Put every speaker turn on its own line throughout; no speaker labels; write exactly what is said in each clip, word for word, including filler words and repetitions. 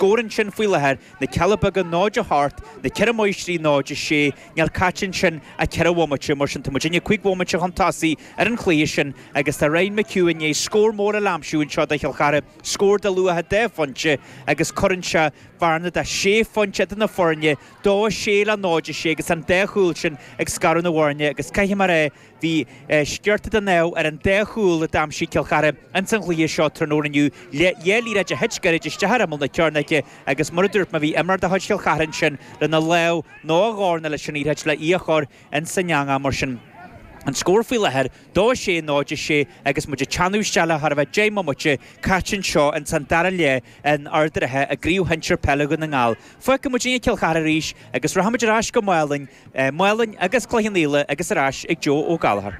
scór ansin faoi láthair, Na Cealla Beaga náid a hocht, Na Ceithre Máistrí náid a sé, níl caite ansin ach ceithre bhomaite, mar sin tá muidinne cúig bhomaite chun tosaigh ar an chluiche sin agus tá Ryan McHugh i ndiaidh scór mór a aimsiú anseo do Chill Chartha, scór de luach dhá phointe agus cuireann sé bearna de sé phointe idir na foirne, dó a sé le náid a sé agus an dá chúl sin ag scaradh na bhfoirne agus caithfidh mé a rá bhí sciorta den ádh ar an dá chúl a d'aimsigh Cill Chartha ins an chluiche seo tráthnóna inniu. Dhá liathróid a thit gairid isteach ar imeall na cearnóige agus mar a dúirt mé bhí imreoir de chuid Chill Chartha ansin lena lámh nó a dhorn leis an liathróid le í a chur ins an eangach mar sin. An scór faoi láthair, dó a sé, náid a sé agus muid ag teannadh isteach le chóir a bheith deich mbomaite caite anseo ins an dara leath in Ard an Rátha i gCraobh Shinsir Peile Dhún na nGall. Fágfaidh muidinne Cill Chartha arís agus rachaidh muid ar ais go Málainn, Málainn agus Cloich Cheann Fhaola agus ar ais ag Joe Ó Gallchóir.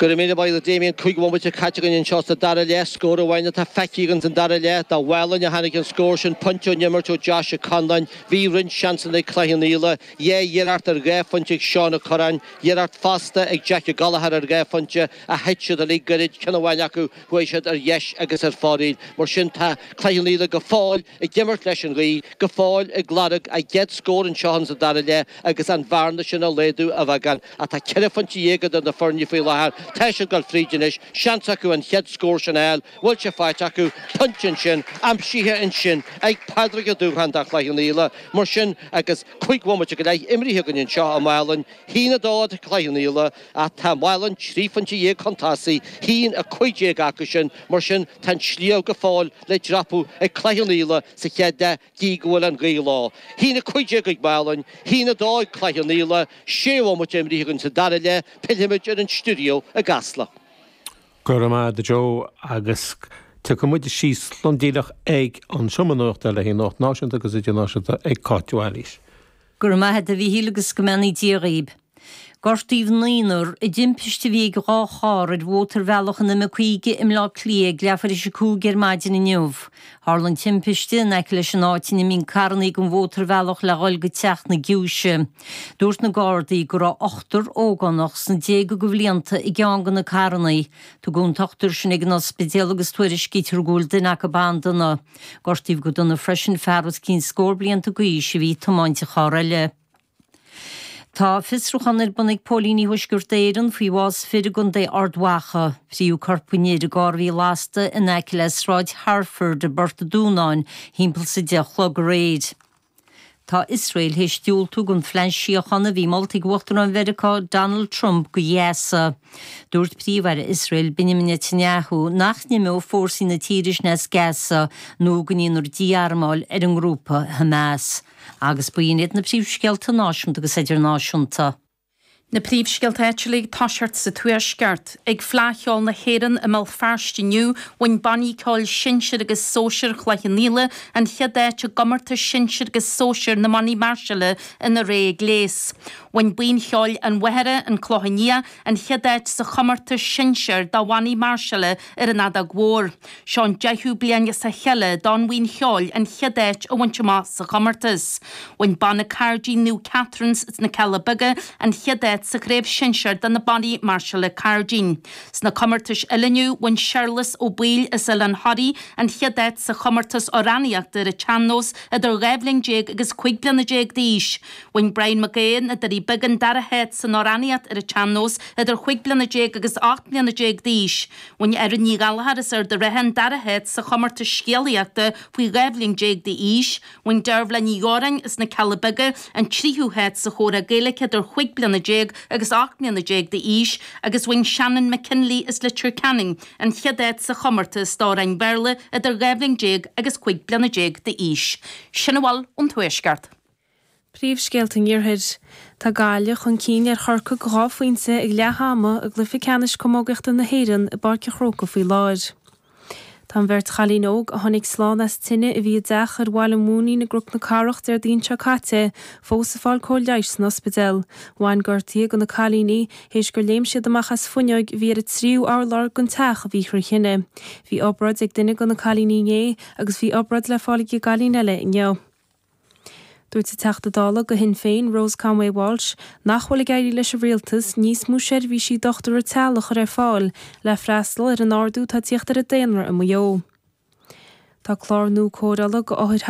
Go raibh míle maith agat Damien, cúig bhomaite caite againn anseo sa dara leath, scór amháin atá feicthe againn san dara leath. Do Mhálainn a tháinig an scór sin, pointe ón imirt ó Josh Ó Conláin. Bhí roinnt seansanna ag Cloich Cheann Fhaola, dhá iarracht ar dhá phointe ag Seán Ó Curráin, iarracht fosta ag Jack Ó Gallchóir ar dhá phointe ach thit siad uilig goirid, ceann amháin acu chuaigh siad ar dheis agus ar fóraoil. Mar sin tá Cloich Cheann Fhaola go fóill ag imirt leis an ghaoth, go fóill ag lorg a gcéad scór anseo insa dara leath agus an bhearna sin a laghdú a bheagán. Ach tá ceithre phointe dhéag idir na foirne faoi láthair. Tá siad ag dul fríd anois. Seans acu an chéad scór sin a fháil. Bhfuil sé faighte acu? Pointe ansin, aimsithe ansin ag Pádraig Ó Dúcháin do Chloich Cheann Fhaola. Mar sin, agus cúig bhomaite go leith imrithe againn anseo i Málainn, haon a dó do Chloich Cheann Fhaola, ach tá Málainn trí phointe dhéag chun tosaigh, haon a cúig déag acu sin. Mar sin, tá an sliabh go fóill le dreapadh ag Cloich Cheann Fhaola sa chéad leath, gídh go bhfuil an ghaoth leo. Haon a cúig déag ag Málainn, haon a dó ag Cloich Cheann Fhaola, sé bhomaite imrithe againn sa dara leath, pillfimid ar an stiúideo i gCasla.
Go raibh maith agat a Joe agus tiocfaidh muid síos lom díreach ag an seomra nuachta le haghaidh nuacht náisiúnta agus idirnáisiúnta ag Cáit Mhaoilís.
Go raibh maith agat a Mhíchíl agus go mbeannaí Dia dhaoib. Gortaíodh naonúr i dtimpiste a bhí ag dhá charr ar mhótarbhealach an M caoga i mBleá Cliath ag leathuair tar éis a cúig ar maidin inniu. Tharla an timpiste in aice leis an áit ina mbíonn carrannaí den mhótarbhealach le dhul go teach na giúise. Dúirt na Gardaí go raibh ochtar ógánach sna déaga de bhlianta i gceann de na carrannaí. Tugadh an t-ochtar sin ag an ospidéal agus tuairiscítear go bhfuil duine acu an-dona. Gortaíodh go dona freisin fear os cionn scór blianta d'aois a bhí ag tiomáint an charr eile. Tá fiosrúchán ar bun ag Póilíní Thuaisceart Éireann faoi bhás fir i gContae Ard Mhacha. Fríodh corp an fhir i gcarr a bhí lasta in aice le Sráid Harford i bPort an Dúnáin thimpeall is a deich a chlog aréir. Tá Iosrael théis diúltú don phlean síochána a bhí molta ag Uachtarán Mheiriceá Donald Trump do Ghaza. Dúirt Príomh-Aire Iosrael Benjamin Netanyahu nach n-imeodh fórsaí na tíre sin as Gaza nó go ndéanfar dí-armáil ar an ngrúpa Hamas. Agus b'in iad na príomhscéalta náisiúnta agus idirnáisiúnta.
Na príomhscéalta áitiúla ag toiseacht sa Tuaisceart. Ag Fleadh Cheoil na hÉireann i mBéal Feirste inniu, bhain bannaí ceoil sinsir agus sóisir Chloich Cheann Fhaola an chéad áit i gcomórtas sinsir agus sóisir na mbannaí máirseála ina rogha gléas. Bhain Buíon Cheoil an Mhachaire, An Clochán Liath, an chéad áit sa chomórtas sinsir do bhannaí máirseála ar an fheadóg mhór. Seo an deichiú bliain as a chéile don bhuíon cheoil an chéad áit a bhaint amach sa chomórtas. Bhain Banna Cairdín Naomh Catherine's sna Cealla Beaga an chéad áit sa chraobh shinsir do na bannaí máirseála cairdín. Sna comórtais eile inniu, bhain Séarlas Ó Baoill as Oileán Thoraí an chéad áit sa chomórtas amhránaíochta ar an tsean-nós idir dhá bhliain déag agus cúig bliana déag d'aois. Bhain Brian Mac Aodha, Na Doirí Beaga an dara háit san amhránaíocht ar an tsean-nós idir chúig bliana déag agus ocht mbliana déag d'aois. Bhain Erin Ní Ghallchóir as Ard an Rátha an dara háit sa chomórtas scéalaíochta faoi dhá bhliain déag d'aois. Bhain Dearbhla Ní Dhóráin as na Cealla Beaga an tríú háit sa chomhrá Gaeilge idir chúig bliana déag agus ocht mbliana déag d'aois agus bhain Shannon McKinley as Leitir Ceanainn an chéad áit sa chomórtas d'amhráin Bhéarla idir dhá bhliain déag agus cúig bliana déag d'aois. Sin a bhfuil ón Tuaisceart.
Príomhscéalta an Iarthair. Tá Gaillimh chun cinn ar Chorcaigh dhá phointe ag leath ama i gcluiche ceannais camógaíochta na hÉireann i bPáirc an Chrócaigh faoi láthair. Tá an bheirt chailín óg a tháinig slán as tine a bhí i dteach ar Bhaile an Mhúinín i gCnoc na Cathrach Déardaoin seo caite fós ag fáil cóir leighis san ospidéal. Bhain gortuithe do na cailíní théis gur léim siad amach as fuinneog a bhí ar an tríú urlár den teach a bhí trí thine. Bhí obráid ag duine de na cailíní inné agus bhí obráid le fáil ag an gcailín eile inniu. Dúirt an Teachta Dála do Shinn Féin Rose Conway Walsh nach bhfuil ag éirí leis an rialtas níos mó seirbhísí dochtúra teaghlaigh a chur ar fáil le freastal ar an ardú atá ag tíocht ar an daonra i Maigh Eo. Tá clár nua cóireála d'othair